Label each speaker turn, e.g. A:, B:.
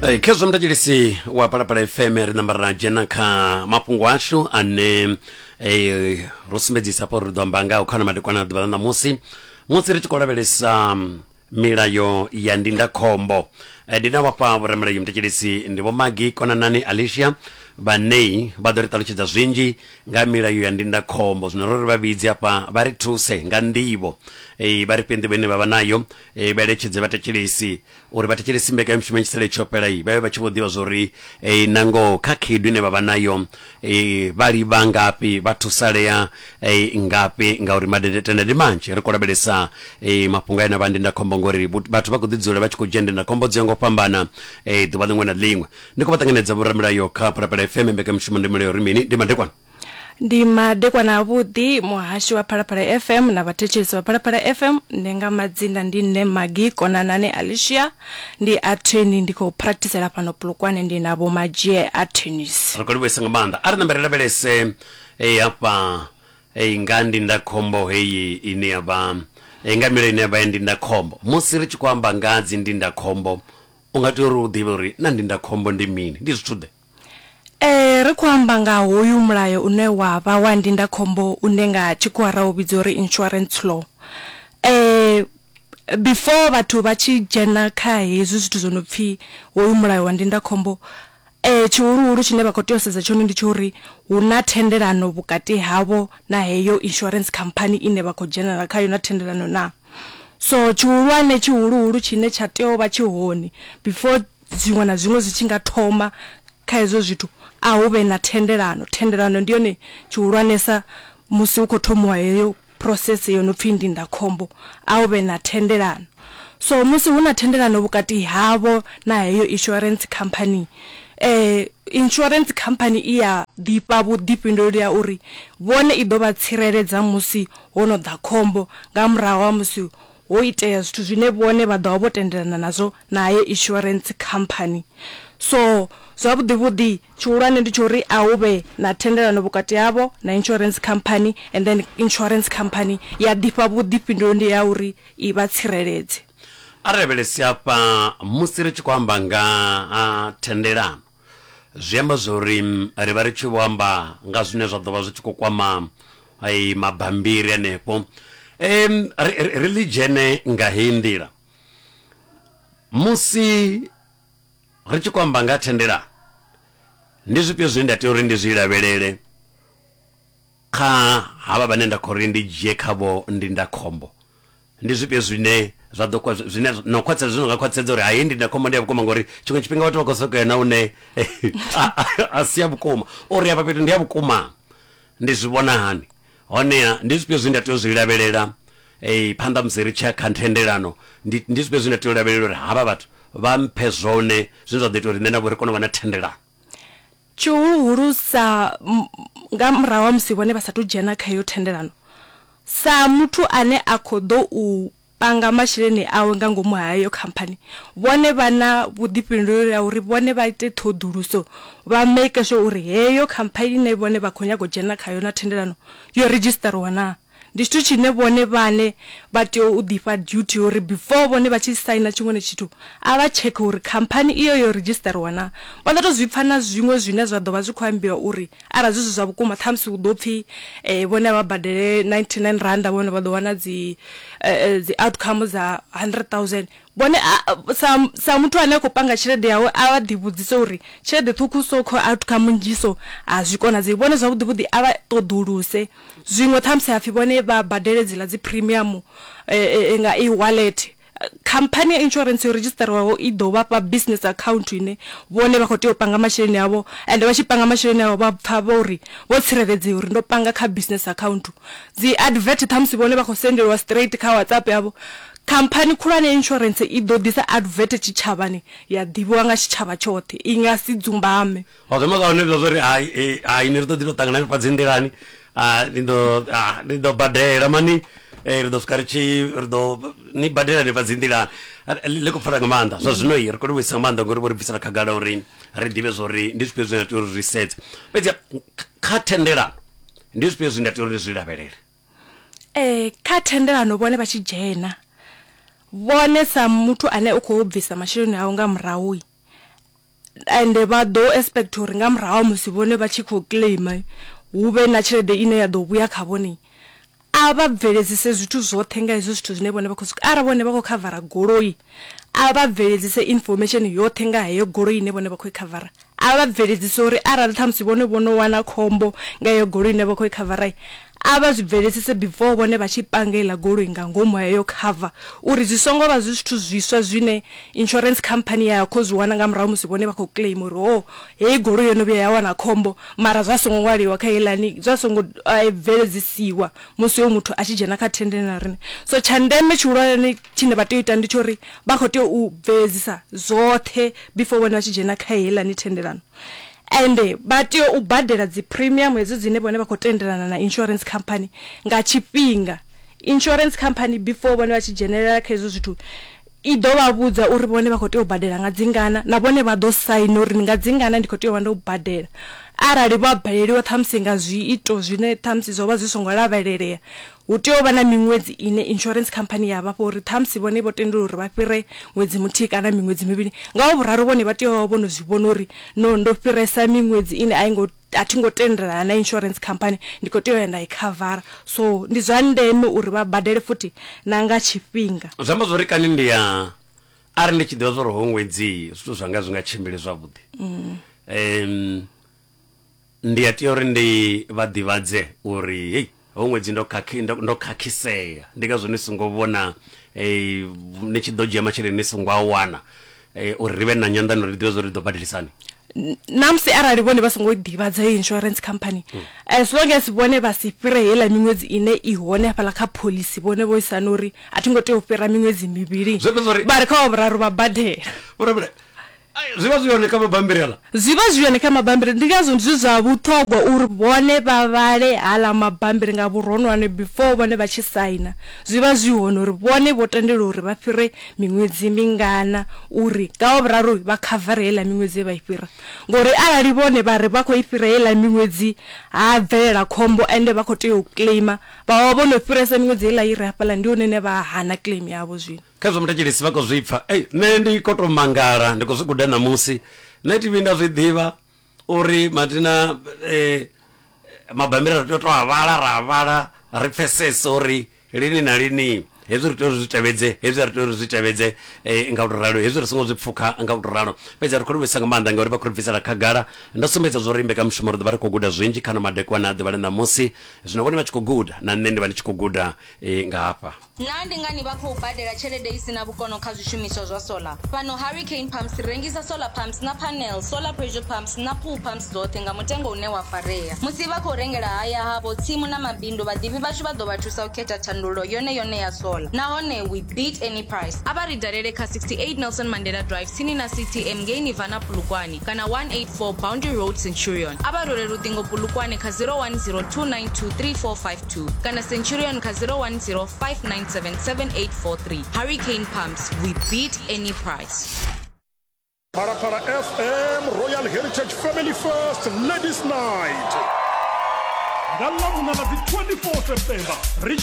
A: Khezwo mthetshelesi wa Phalaphala FM, ri namba ra dzhena kha mafhungo ashu ane ro sumbedzisa hafha uri ri ḓo amba ngaho kha madekwana a ḓuvha ḽa ṋamusi, musi ri tshi khou lavhelesa milayo ya ndindakhombo. Ndi na vhafha vhoramilayo mthetshelesi, ndi Vho Magi Konanani Alicia vhanei vha ḓo ri ṱalutshedza zwinzhi nga milayo ya ndindakhombo. Zwino ro ri vha vhidze hafha vha ri thuse nga nḓivho, vha ri fhe nḓivho ine vha vha nayo, vha eletshedze vhathetshelesi uri vha thetshelesi mbekanyamushumo ya tshisele tsho fhela vha vhe vha tshi vho ḓivha zwori na ngoho kha khaedu ine vha vha nayo vha livha ngafhi, vha thusalea ngafhi, ngauri madendetende ndi manzhi. Ri khou lavhelesa mafhungo ane a vha ndindakhombo, ngori vhathu vha khou ḓi dzula vha tshi khou dzhia ndindakhombo dzo ya nga u fhambana ḓuvha ḽiṅwe na ḽiṅwe. Ndi khou vha ṱanganedza vhoramilayo kha Phalaphala FM, mbekanyamushumo ndi Milayo Ri Mini. Ndi madekwana.
B: Ndi madekwana avhuḓi muhashi wa Phalaphala FM na vhathetshelesi vha Phalaphala FM. Nṋe nga madzina ndi nṋe Maggie Konanani Alicia, ndi attorney, ndi khou practicela fhano Polokwane, ndi na Vho Madzhie Attorneys.
A: Ri khou livhuwesa nga maanḓa. A ri nambe ri lavhelese hafha nga ndindakhombo heyi ine ya vha nga milayo ine ya vha ya ndindakhombo. Musi ri tshi khou amba nga dzi ndindakhombo, u nga tea uri u ḓivhe uri na ndindakhombo ndi mini, ndi zwithu ḓe?
B: Ee, ri khou amba nga hoyu mulayo une wa vha wa ndindakhombo une nga tshikhuwa ra u vhidza uri insurance law. Before vhathu vha tshi dzhena kha hezwi zwithu zwo no pfhi hoyu mulayo wa ndindakhombo, tshihuluhulu tshine vha khou tea u sedza tshone ndi tsha uri hu na thendelano vhukati havho na heyo insurance khamphani ine vha khou dzhenela khayo na thendelano naa. So tshihulwane tshihuluhulu tshine tsha tea u vha tshi hone before zwiṅwe na zwiṅwe zwi tshi nga thoma kha hezwo zwithu, a hu vhe na thendelano. Thendelano ndi yone tshihulwanesa musi hu khou thomiwa heyo process yo no pfhi ndindakhombo, a hu vhe na thendelano. So musi hu na thendelano vhukati havho na heyo insurance company, insurance company i ya ḓifha vhuḓifhinduleli ha uri vhone i ḓo vha tsireledza musi ho no ḓa khombo nga murahu ha musi ho itea zwithu zwine vhone vha ḓo vha vho tendelana nazwo na heyo insurance company. So zwavhuḓi vhuḓi tshihulwane ndi tsha uri a hu vhe na thendelano vhukati havho na insurance company and then insurance company ya ḓifha vhuḓifhinduleli ha uri i vha tsireledze.
A: A ri lavhelese hafha musi ri tshi khou amba nga ha thendelano, zwi amba zwori ri vha ri tshi vho amba nga zwine zwa ḓo vha zwi tshi khou kwama mabambiri hanefho. Ri ḽi dzhene nga heyi nḓila, musi ri tshi khou amba nga thendelano, ndi zwifhio zwine nda tea uri ndi zwi lavhelele kha havha vhane nda khou ri ndi dzhie khavho ndindakhombo? Ndi zwifhio zwine zwa ḓo zwine na u khwaṱhisedza, zwine zwa nga khwaṱhisedza uri hayi ndindakhombo ndi ya vhukuma? Ngori tshiṅwe tshifhinga vhathu vha khou sokou ya na hune a si ya vhukuma, uri afha fhethu ndi ya vhukuma ndi zwi vhona hani? Honeha ndi zwifhio zwine nda tea u zwi lavhelela phanḓa musi ri tshi ya kha thendelano? Ndi ndi zwifhio zwine nda tea u lavhelela uri havha vhathu vha mphe zwone zwine zwa ḓo ita uri nṋe navho ri kone u vha na thendelano?
B: Tshihuluhulu sa nga murahu ha musi vhone vha sathu dzhena kha iyo thendelano, sa muthu ane a khou ḓo u panga masheleni awe nga ngomu ha heyo khamphani, vhone vha na vhuḓifhinduleli ha uri vhone vha ite ṱhoḓuluso vha make sure uri heyo khamphani ine vhone vha khou nyaga u dzhena khayo na thendelano yo redzhisiṱariwa naa. Ndi tshithu tshine vhone vhaṋe vha tea u ḓifha duty ya uri before vhone vha tshi saina tshiṅwe na tshithu a vha tshekhe uri khamphani iyo yo redzhisiṱariwa naa. Vha ḓo tou zwi pfa na zwiṅwe zwine zwa ḓo vha zwi khou ambiwa uri arali zwi si zwa vhukuma ṱhamusi hu ḓo pfhi vhone a vha badele 99 rannda vhone vha ḓo wana dzi dzi outcome dza 100,000. Vhone a sa sa muthu ane a khou panga tshelede yawe a vha ḓi vhudzise uri tshelede ṱhukhu so kho outcome nnzhi so a zwi konadzei. Vhone zwavhuḓi vhuḓi a vha ṱoḓuluse zwiṅwe ṱhamusi hapfi vhone vha badele dziḽa dzi premium nga e-wallet. Khamphani ya insurance yo redzhisiṱariwaho i ḓo vha fha business account ine vhone vha khou tea u panga masheleni avho ende vha tshi panga masheleni avho vha pfa vho uri vho tsireledzea uri ndo panga kha business account. Dzi advert ṱhamusi vhone vha khou sendeliwa straight kha WhatsApp yavho. Khamphani khulwane ya insurance i ḓo ḓisa advert tshitshavhani ya ḓivhiwa nga tshitshavha tshoṱhe, i nga si dzumbame.
A: Ho zwi amba zwa hone zwa uri hai hai ni ri ḓo ḓi to ṱangana hanefha dzi nḓilani, ni ḓo ni ḓo badela mani, ri ḓo swika ri tshi ri ḓo ni badela hanefha dzi nḓilani. Ḽi khou pfala nga maanḓa zwa zwino ri khou livhuwesa nga maanḓa ngori vho ri bvisela khagala uri ri ḓivhe zwa uri ndi zwifhio zwine ra tea uri ri sedze. Fhedzi kha thendelano ndi zwifhio zwine nda tea uri ndi zwi lavhelele?
B: Kha thendelano vhone vha tshi dzhena, vhone sa muthu ane u khou bvisa masheleni awe nga murahu. Ende vha ḓo expect uri nga murahu ha musi vhone vha tshi khou claim hu vhe na tshelede ine ya ḓo vhuya kha vhone. A vha bveledzise zwithu zwoṱhe nga hezwo zwithu zwine vhone vha khou zwi arali vhone vha khou khavara goloi a vha bveledzise information yoṱhe nga heyo goloi ine vhone vha khou i khavara. A vha bveledzise uri arali ṱhamusi vhone vho no wana khombo nga heyo goloi ine vha khou i khavara a vha zwi bveledzise before vhone vha tshi panga heiḽa goloi nga ngomu ha heyo cover uri zwi songo vha zwi zwithu zwiswa zwine insurance company ya khou zwi wana nga murahu musi vhone vha khou claim uri ho heyi goloi yo no vhuya ya wana khombo mara zwa songo ṅwaliwa kha heiḽani zwa songo bveledzisiwa musi hoyu muthu a tshi dzhena kha thendelano na riṋe. So tsha ndeme tshihulwane tshine vha tea u ita ndi tsha uri vha khou tea u bveledzisa zwoṱhe before vhone vha tshi dzhena kha heiḽani thendelano. Ende vha tea u badela dzi premium hedzo dzine vhone vha khou tendelana na insurance company nga tshifhinga. Insurance company before vhone vha tshi dzhenelela kha hezwo zwithu i ḓo vha vhudza uri vhone vha khou tea u badela nga dzingana na vhone vha ḓo saina uri nga dzingana ndi khou tea u vha ndo badela. Arali vha baleliwa ṱhamusi nga zwiito zwine ṱhamusi zwo vha zwi songo lavhelelea Hu tea u vha na miṅwedzi ine insurance company ya vha fha uri ṱhamusi vhone vho tendelwa uri vha fhire ṅwedzi muthihi kana miṅwedzi mivhili. Nga wa vhuraru vhone vha tea u vha vho no zwi vhona uri no ndo fhiresa miṅwedzi ine a i ngo a thi ngo tendelana na insurance company ndi khou tea u ya nda i khavara. So ndi zwa ndeme uri vha badele futhi na nga tshifhinga.
A: Zwi amba zwori kani ndi ya arali ndi tshi ḓivha zwori hoyu ṅwedzi zwithu zwanga zwi nga tshimbili zwavhuḓi Ndi a tea uri ndi vha ḓivhadze uri hei ho ṅwedzi ndo khakhi ndo, ndo khakhisea ndi ngazwo ni songo vhona eh, ni tshi ḓo dzhia masheleni ni songo a wana eh, uri ri vhe na nyanḓano ri ḓivhe zwa uri ri ḓo badelisani.
B: Na musi arali vhone vha songo ḓivhadza heyo insurance company as long as vhone vha si fhire heiḽa miṅwedzi ine i hone hafhaḽa kha phoḽisi vhone vho isana uri a thi ngo tea u fhira miṅwedzi mivhili
A: Zwi amba zwori
B: vha ri kha wa vhuraru vha badela.
A: Vho Zwi vha zwi hone kha mabambiri aḽa?
B: Zwi vha zwi hone kha mabambiri, ndi ngazwo zwi zwa vhuṱhogwa uri vhone vha vhale haḽa mabambiri nga vhuronwane before vhone vha tshi saina. Zwi vha zwi hone uri vhone vho tendelwa uri vha fhire miṅwedzi mingana uri nga wa vhuraru vha khavare heiḽa miṅwedzi ye vha i fhira. Ngori arali vhone vha ri vha khou i fhira heiḽa miṅwedzi ha bvelela khombo ende vha khou tea u claimer vha vha vho no fhiresa miṅwedzi heiḽa i re hafhaḽa ndi hone hune vha hana claim yavho zwino.
A: Khezwo muthetshelesi vha khou zwi pfa. Ei, nṋe ndi khou tou mangala, ndi khou zwi guda ṋamusi. Nṋe thi vhuyi nda zwi ḓivha uri mathina eh, mabambiri ri tea u tou a vhala ra a vhala ri pfesese uri lini na lini hezwi ri tea uri zwi tevhedze, hezwi a ri tea uri zwi tevhedze eh, nga u tou ralo, hezwi ri songo zwi pfukha nga u tou ralo. Fhedzi ri khou livhuisa nga maanḓa ngauri vha khou ri bvisela khagala. Ndo sumbedza zwa uri mbekanyamushumo ri ḓo vha ri khou guda zwinzhi kha ano madekwana a ḓuvha ḽa ṋamusi. Zwino vhone vha tshi khou guda na nṋe ndi vha ndi tshi khou guda eh, nga hafha.
C: Naa ndi ngani vha khou badela tshelede i si na vhukono kha zwishumiswa zwa solar? Fhano Hurricane Pumps ri rengisa solar pumps na panels, solar pressure pumps na pool pumps dzoṱhe nga mutengo une wa farea. Musi vha khou rengela haya havho, tsimu na mabindu, vhaḓivhi vhashu vha ḓo vha thusa u khetha thandululo yone yone ya solar. Nahone we beat any price. A vha ri dalele kha 68 Nelson Mandela Drive tsini na CTM ngei Nirvana Polokwane kana 184 Boundary Road Centurion. A vha rwele luṱingo Polokwane kha 010 292 3452. Kana Centurion kha 010 597 7843. Hurricane Pumps, we beat any price.
D: Phalaphala FM Royal Heritage Family First Ladies Night. Nga Ḽavhuṋa ḽa dzi 24 September ri.